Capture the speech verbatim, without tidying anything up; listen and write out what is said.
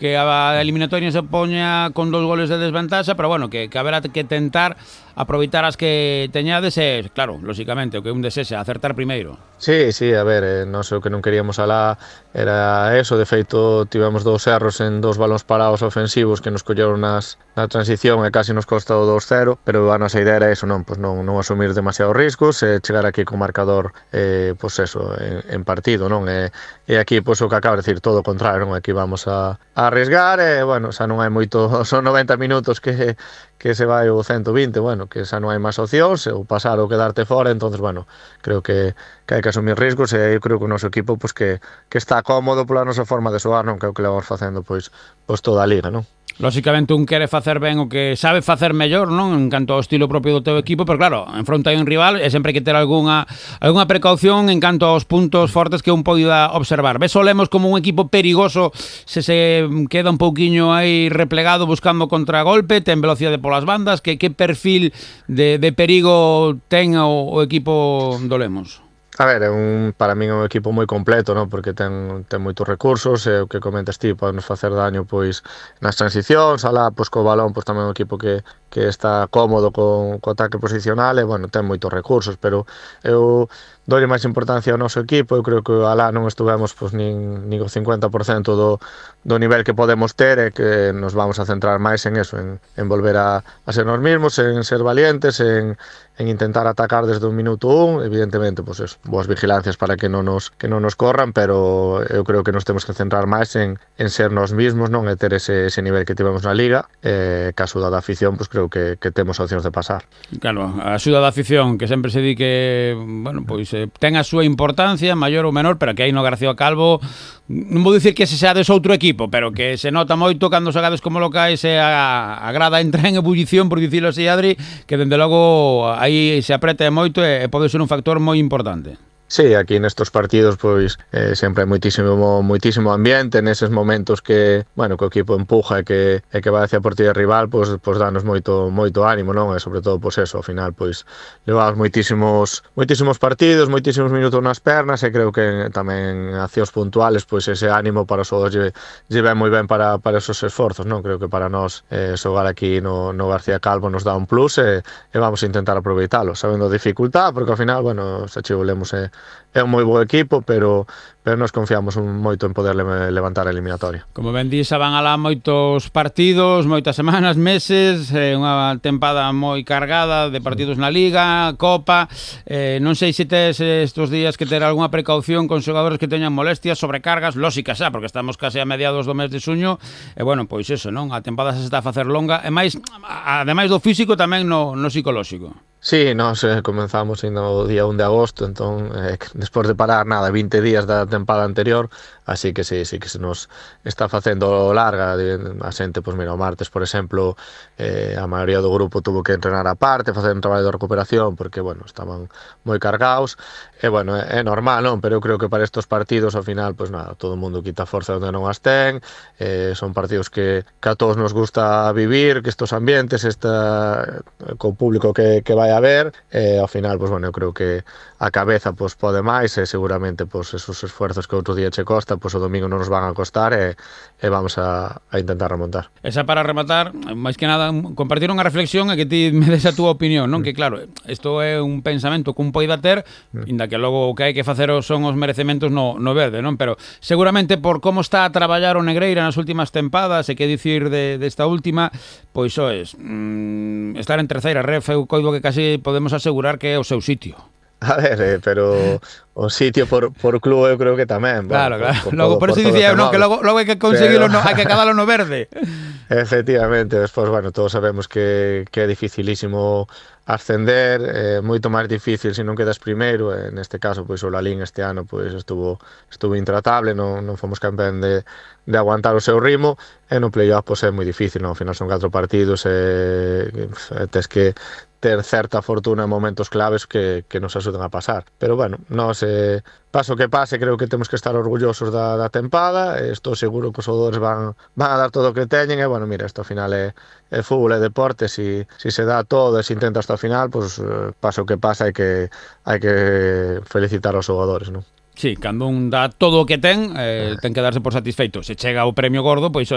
que a eliminatoria se poña con dos goles de desventaxa, pero bueno, que, que haberá que tentar aproveitar as que teñades e, claro, lóxicamente, o que un desexa, acertar primeiro. Sí, sí, a ver, eh, non sei o que non queríamos alá era eso, de feito tivemos dous erros en dous balóns parados ofensivos que nos colleron nas, na transición e casi nos costa o dos cero, pero a nosa idea era eso, non, pues non, non asumir demasiados riscos e chegar aquí con marcador eh, pues eso, en, en partido, non? E, e aquí, pues o que acaba de decir, todo o contrario, non? Aquí vamos a, a arriesgar e, bueno, xa non hai moito, son noventa minutos que, que se vai o ciento vinte, bueno, que xa non hai máis opcións, ou pasar ou quedarte fora, entonces, bueno, creo que, que hai que asumir riscos e eu creo que o noso equipo pues, que, que está cómodo pola nosa forma de xogar, non? Creo que levamos facendo pois, pois toda a liga, non? Lóxicamente un quere facer ben o que sabe facer mellor, non? En canto ao estilo propio do teu equipo, pero claro, enfronta hai un rival e sempre hai que ter algunha algunha precaución en canto aos puntos fortes que un poida observar. Ves o Lemos como un equipo perigoso se se queda un pouquiño aí replegado buscando contragolpe, ten velocidade polas bandas, que que perfil de, de perigo ten o, o equipo do Lemos? A ver, é un, para min é un equipo moi completo, non? Porque ten, ten moitos recursos e o que comentas ti, podenos facer daño pois nas transicións, alá pois co balón, pois tamén é un equipo que, que está cómodo con, co ataque posicional e, bueno, ten moitos recursos, pero eu dolle máis importancia ao noso equipo, eu creo que alá non estuvemos pois nin, nin o cincuenta por cento do, do nivel que podemos ter e que nos vamos a centrar máis en eso, en, en volver a, a ser nos mismos, en ser valientes, en en intentar atacar desde un minuto un, evidentemente, pues eso, boas vigilancias para que non nos que non nos corran, pero eu creo que nos temos que centrar máis en, en ser nos mismos, non, e ter ese, ese nivel que tivemos na Liga, e caso da afición, pues creo que, que temos opcións de pasar. Claro, a axuda da afición, que sempre se di que, bueno, pois eh, ten a súa importancia, maior ou menor, pero que aí no García Calvo, non vou dicir que se seades outro equipo, pero que se nota moito cando xogades como locais e a, a grada entra en ebullición, por dicilo así, Adri, que dende logo aí se apreta moito e pode ser un factor moi importante. Sí, aquí nestos partidos pois eh, sempre hai moitísimo moitísimo ambiente neses momentos que, bueno, que o equipo empuja e que e que vai hacia a portería rival, pois pois danos moito moito ánimo, non? E sobre todo pois eso, ao final pois levamos moitísimos moitísimos partidos, moitísimos minutos nas pernas e creo que tamén accións puntuales, pois ese ánimo para os xogadores lle, lle ven moi ben para para esos esforzos, non? Creo que para nós eh, xogar aquí no no García Calvo nos dá un plus e, e vamos a intentar aproveitalo, sabendo a dificultad, porque ao final, bueno, se volemos e é un moi bo equipo, pero pero nos confiamos un moito en poder levantar a eliminatoria. Como ben dís, van alá moitos partidos, moitas semanas, meses, eh, unha tempada moi cargada de partidos na Liga, Copa, eh, non sei se tes estes días que ter algunha precaución con xogadores que teñan molestias, sobrecargas, lóxicas xa, porque estamos case a mediados do mes de xuño, e bueno, pois eso, non? A tempada se está a facer longa, e máis, ademais do físico, tamén no, no psicolóxico. Sí, nos eh, comenzamos no día un de agosto, entón, eh, despois de parar, nada, vinte días da tempada anterior, así que sí, sí que se nos está facendo larga, a xente, pois mira, o martes, por exemplo, eh, a maioría do grupo tuvo que entrenar a parte, facer un traballo de recuperación, porque, bueno, estaban moi cargados, e, bueno, é, é normal, non? Pero eu creo que para estes partidos, ao final, pois nada, todo o mundo quita forza onde non as ten, eh, son partidos que, que a todos nos gusta vivir, que estes ambientes, esta, co público que, que vai a ver, e ao final, pois, bueno, eu creo que a cabeza pois pode máis e seguramente pois esos esfuerzos que outro día che costa, pois o domingo non nos van a costar e, e vamos a, a intentar remontar. Esa para rematar, máis que nada, compartir unha reflexión e que ti me des a túa opinión, non? Mm. Que claro, isto é un pensamento que un poida ter, mm. inda que logo o que hai que facer son os merecementos no, no verde, non? Pero seguramente por como está a traballar o Negreira nas últimas tempadas e que dicir de, desta última, pois soes, mm, estar en terceira ref, eu coido que casi podemos asegurar que é o seu sitio. A ver, eh, pero o sitio por, por club eu creo que tamén. Claro, bueno, claro. Por, por logo, todo, por eso dicía eu, non, que logo, logo hai que conseguirlo, pero... no, hai que acadalo no verde. Efectivamente, despois, bueno, todos sabemos que, que é dificilísimo ascender, é eh, moito máis difícil se non quedas primeiro, e neste caso, pois o Lalín este ano pois estuvo estuvo intratable, non, non fomos campeón de, de aguantar o seu ritmo, e no playoff pois é moi difícil, non? Ao final son catro partidos e, e tes que ter certa fortuna en momentos claves que, que nos axudan a pasar. Pero, bueno, nós, eh, paso que pase, creo que temos que estar orgullosos da, da tempada, e estou seguro que os xogadores van, van a dar todo o que teñen, e, bueno, mira, isto ao final é, é fútbol, é deporte, si, si se dá todo e se intenta hasta o final, pues, paso que pasa, hai que, hai que felicitar aos xogadores, non? Sí, cando un dá todo o que ten, eh, ten que darse por satisfeito. Se chega o premio gordo, pois